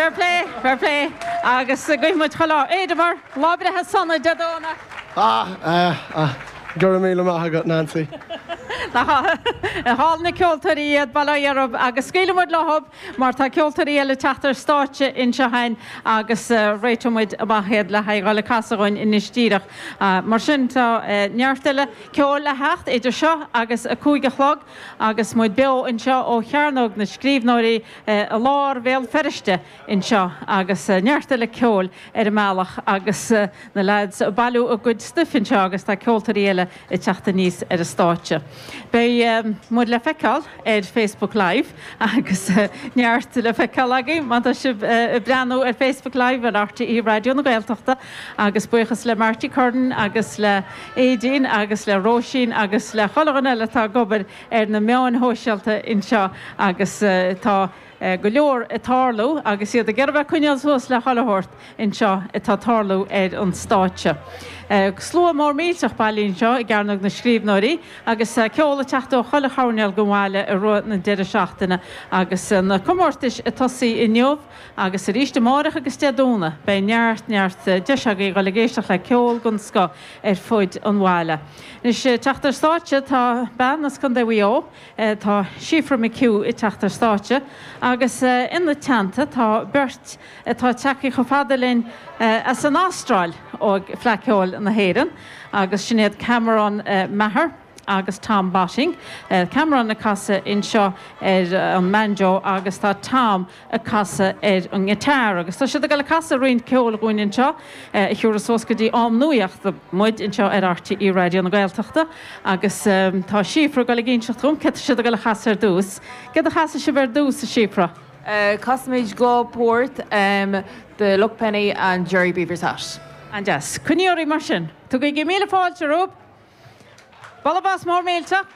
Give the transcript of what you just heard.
Fair play, fair play. Agus guífidh muid chuile ádh oraibh, lá breithe sona Dé Domhnaigh. Ah, ah, ah. Go raibh míle maith agat, Nancy. Nach álainn na ceoltóirí iad, bail ó Dhia orthu, agus scaoilfidh muid leo mar tá ceoltóirí eile ag teacht ar stáitse anseo againn agus réiteoidh muid amach iad le haghaidh dhul ag casadh dhúinn anois díreach. Mar sin tá neart eile ceoil le theacht idir seo agus 5 a chlog agus muid beo anseo ó Chearnóg na Scríbhneoirí i lár Bhéal Feirste anseo agus neart eile ceoil ar an mbealach agus na leaids ag bailiú a gcuid stuif anseo agus tá ceoltóirí eile ag teacht aníos ar an stáitse. Beidh muid le feiceáil ar Facebook Live agus neart le feiceáil agaibh má tá sibh ag breathnú ar Facebook Live ar RTÉ Raidió na Gaeltachta agus buíochas le Marty Curran agus le Aedín agus le Róisín agus le chuile dhuine eile atá ag obair ar na meáin shóisialta anseo agus tá go leor ag tarlú agus iad ag iarraidh bheith ag coinneáil suas le chuile shórt anseo atá ag tarlú ar an stáitse. Slua mór millteach bailithe anseo i gCearnóg na Scríbhneoirí agus ceol ag teacht ó chuile choirnéal den bhaile i rith na deireadh seachtaine agus na comórtais ag tosaí inniu agus arís amárach agus Dé Domhnaigh. Beidh neart, neart deis agaibh dhul ag éisteacht le ceol den scoth ar fuid an bhaile. Anois ag teacht ar stáitse tá bean as Contae Mhaigh Eo, Tá Síofra McHugh ag teacht ar stáitse agus ina teannta tá beirt atá tagtha chomh fada linn as an Astráil ó Fleadh Cheoil na hÉireann agus sin iad Cameron Maher agus Tom Botting. Cameron ag casadh anseo ar an mbanjo agus tá Tom ag casadh ar an ngiotár agus tá siad ag dul ag casadh roinnt ceoil dhúinn anseo a thiúrfas suas go dtí am nuachta muid anseo ar RTÉ Raidió na Gaeltachta agus tá Síofra ag dul ag inseacht dhom céard tá siad ag dul a chasadh ar dtús. Céard a chasfaidh sibh ar dtús, a Shíofra? Casfaimid dhá port, The Luck Penny and Jerry Beaver's Hat. An-deas. Coinnígí oraibh mar sin. Tugaigí míle fáilte rompu. Bualadh bos mór millteach.